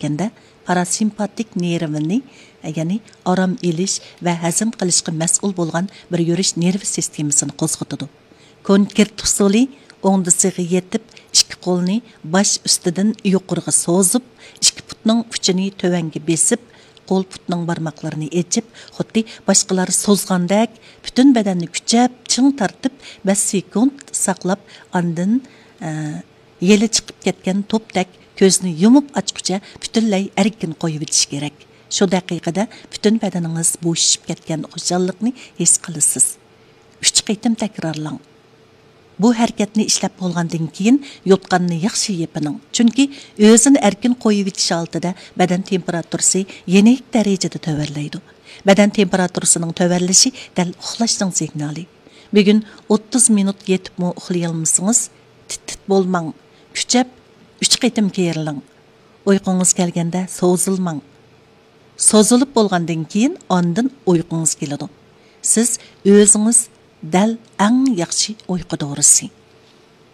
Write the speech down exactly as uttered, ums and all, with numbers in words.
كەتكەندە، پاراسىمپاتىك نېرۋىنى، يەنى ئارام ئېلىش ۋە ھەزىم قىلىشقا مەسئۇل بولغان بىر يۈرۈش نېرۋا سىستېمىسىنى قوزغىتىدۇ. كونكرېت ئۇسۇلى: ئوڭدىسىغا يېتىپ، ئىككى قولنى باش ئۈستىدىن يۇقىرىغا سوزۇپ، ئىككى پۇتنىڭ ئۇچىنى تۆۋەنگە بېسىپ، قول پۇتنىڭ بارماقلىرىنى ئېچىپ، خۇددى باشقىلار سوزغاندەك پۈتۈن بەدەننى كۈچەپ، چىڭ تارتىپ، بەش سېكۇنت ساقلاپ، ئاندىن، ئە، يېلى چىقىپ كەتكەن توپتەك كۆزنى يۇمۇپ ئاچقۇچە پۈتۈنلەي ئەركىن قويۇۋېتىش كېرەك. شۇ دەقىقىدە پۈتۈن بەدىنىڭىز بوشىشىپ كەتكەن خۇشاللىقنى ھېس قىلىسىز. ئۈچ قېتىم تەكرارلاڭ. بۇ ھەرىكەتنى ئىشلەپ بولغاندىن كېيىن يوتقاننى ياخشى يېپىنىڭ، چۈنكى ئۆزىنى ئەركىن قويۇۋېتىش ھالىتىدە بەدەن تېمپېراتۇرىسى يېنىك دەرىجىدە تۆۋەنلەيدۇ. بەدەن تېمپېراتۇرىسىنىڭ تۆۋەنلىشى دەل ئۇخلاشنىڭ سىگنالى. بۈگۈن ئوتتۇز مىنۇت يېتىپمۇ ئۇخلىيالمىسىڭىز، تىت-تىت بولماڭ، كۈچەپ ئۈچ قېتىم كېرىلىڭ. ئۇيقۇڭىز كەلگەندە سوزۇلماڭ. سوزۇلۇپ بولغاندىن كېيىن ئاندىن ئۇيقۇڭىز كېلىدۇ. سىز ئۆزىڭىز دەل ئەڭ ياخشى ئۇيقۇ دورىسى.